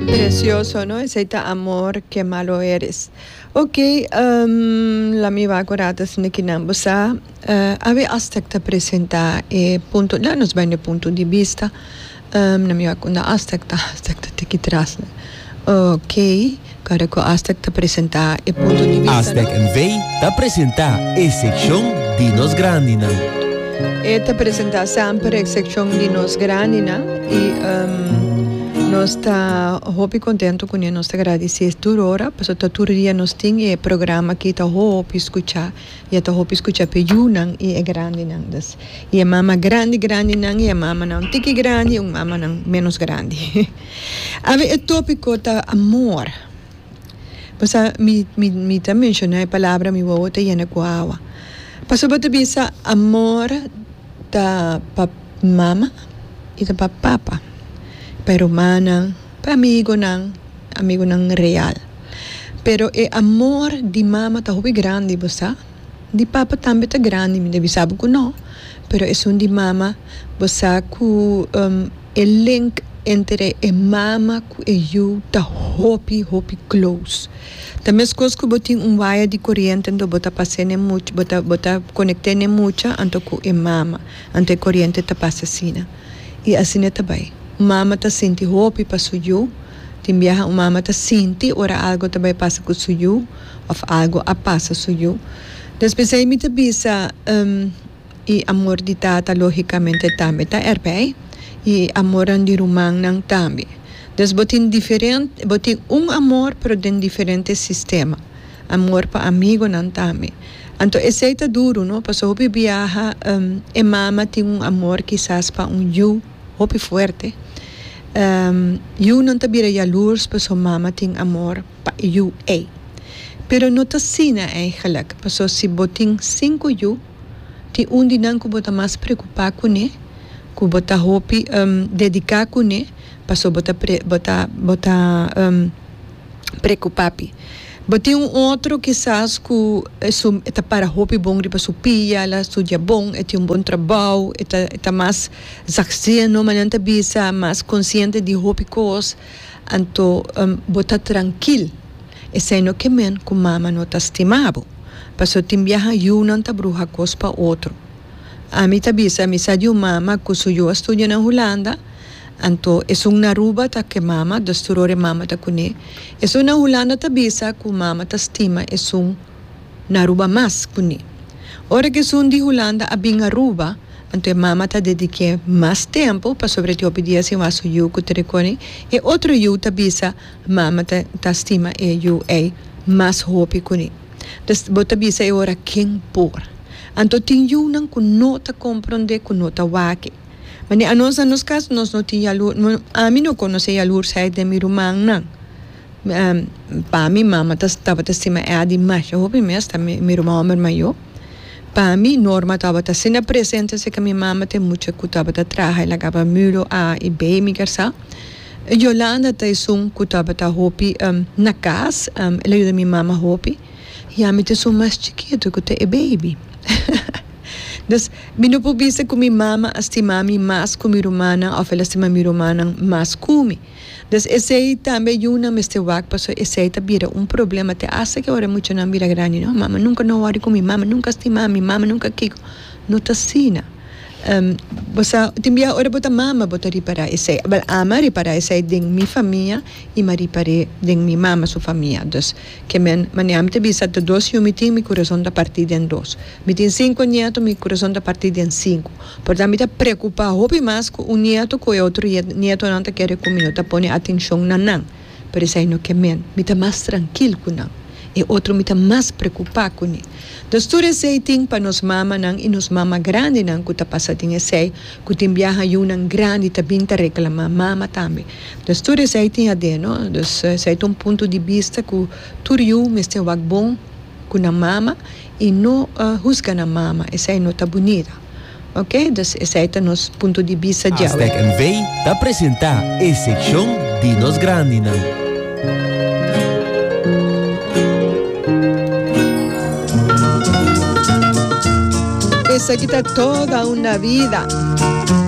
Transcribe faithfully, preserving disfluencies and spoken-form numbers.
Precioso, no? Esey ta Amor, Qué Malo Eres. Ok, um, la mi wak ora asina cu nan bo sa, uh, awe Astec ta presenta e punto, la nos bay na punto di bista. Um, na mi wak unda Astec ta, Astec ta tiki tras. Ok, cara cu Astec ta presenta e punto di bista. Astec no? N V ta presenta e seccion di nos grandinan. E ta presenta semper e seccion di nos grandinan y um, nos ta hopi contento cu nos ta agradeci tur ora, pasobra tur dia nos tin e programa aki ta hopi scucha y ta hopi scucha pa yiunan y e grandinan. Dus, y e mama grandi grandinan y e mamanan tiki grandi y un mamanan menos grandi. Awe e topico ta amor. Pasobra mi mi mi ta menciona e palabra, mi wowo ta yena cu awa. Pasobra bo ta bisa amor ta pa mama y ta pa papa. Pa rumannan, pa amigonan, amigonan real. Pero e amor di mama ta hopi grandi, bo sa? Di papa tambe ta grandi, mi ta bisa bo cu no. Pero esun di mama, bo sa cu um, e link entre e mama cu e yiu ta hopi, hopi close. Ta mescos cu bo tin un waya di coriente, anto bo ta pasa ne mucha, bo ta, bo ta conecta ne mucha, anto cu e mama. Anto e coriente ta pasa asina. Y asina ta bay. Mama ta sinti hopi pa su yiu. Tin biaha un mama ta sinti ora algo ta bay pasa cu su yiu, of algo a pasa su yiu. Despues mi ta bisa um, y amor di tata logicamente tambe ta erbij. Y amor di rumannan tambe. Dus bo tin diferente, bo tin un amor, pero den diferente sistema. Amor pa amigonan tambe. Anto esey ta duro, no? Pasobra hopi biaha um, e mama tin un amor kisas pa un yiu hopi fuerte. Um, yiu nan ta bira jaloers, pasobra mama tin amor pa yiu ey. Pero no ta asina eigenlijk. Pasobra si bo tin cinco yiu, tin un di nan cu bo ta mas preocupa cune, cu bo ta hopi um, dedica cune, pasobra bo ta pre, bo ta, bo ta um, preocupa pi. Bo tin un otro kisas cu su, ta para hopi bon riba su pia, el a studia bon, e tin un bon trabou, e ta, e ta mas zachtzinnig, manera nan ta bisa, mas consciente di hopi cos, anto um, bo ta trankil. Esey no kiermen cu mama no ta stima bo. Pasobra tin biaha yiunan ta bruha cos pa otro. Ami ta bisa, mi sa di un mama cu su yiu a studia na Hulanda, anto esun na Aruba ta cu mama, dus tur ora mama ta cune. Esun na Hulanda ta bisa cu mama ta stima esun na Aruba mas cune. Ora cu esun di Hulanda a bin Aruba, anto e mama ta dedica mas tempo pasobra e tin hopi dia sin wak su yiu cu trecone. E otro yiu ta bisa mama ta, ta stima e yiu ey mas hopi cune. Dus bo ta bisa e ora ken por. Anto tin yiunan cu no ta comprende, cu no ta wak e. Maar anos na nos cas nos no tin jaloer, no, ami no conoce jaloersheid den mi rumannan. Um, pa mi mama ta tabata stima Adi masha hopi mes, ta mi, mi ruman homber mayor. Pa mi Norma tabata asina presente cerca mi mama te mucha cu tabata traha el a caba mulo A y B mi kersa. Yolanda ta esun cu tabata hopi um, na cas, um, el a yuda mi mama hopi. Y ami ta esun mas chikito cu ta e baby. Dus mi no por bisa cu mi mama a stima mi mas cu mi rumannan of el a stima mi rumannan mas cu mi. Dus esey tambe yiunan mester wak, pasobra esey ta bira un problema te hasta cu ora muchanan bira grandi. No, mama nunca no worry cu mi, mama nunca stima mi, mama nunca kiko. No ta asina. Um, bo sa, tin bia ora bo ta mama bo ta ripara esey. Wel, ami a ripara esey den mi famia y m'a ripara den mi mama su famia. Dus, kiermen, manera mi ta bisa, ta dos yiu mi tin, mi corazon ta parti den dos. Mi tin cinco nieto, mi corazon ta parti den cinco. Por tanto, mi ta preocupa hopi mas cu un nieto cu e otro nietonan ta kere cu mi no ta pone atencion na nan. Pero esey no kiermen, mi ta mas trankil cu nan. E otro mi ta mas preocupa cu ne. Dus tur esey tin pa nos mamanan y nos mama grandinan cu ta pasa den esey, cu tin biaha yiunan grandi ta bin ta reclama mama tambe. Dus tur esey tin aden, no? Dus esey ta un punto di bista cu tur yiu mester wak bon cu nan mama y no uh, husga nan mama, esey no ta bunita. Ok? Dus esey ta nos punto di bista djawe. Astec N V ta presenta e seccion di nos grandinan. Esaki ta Toda una Vida.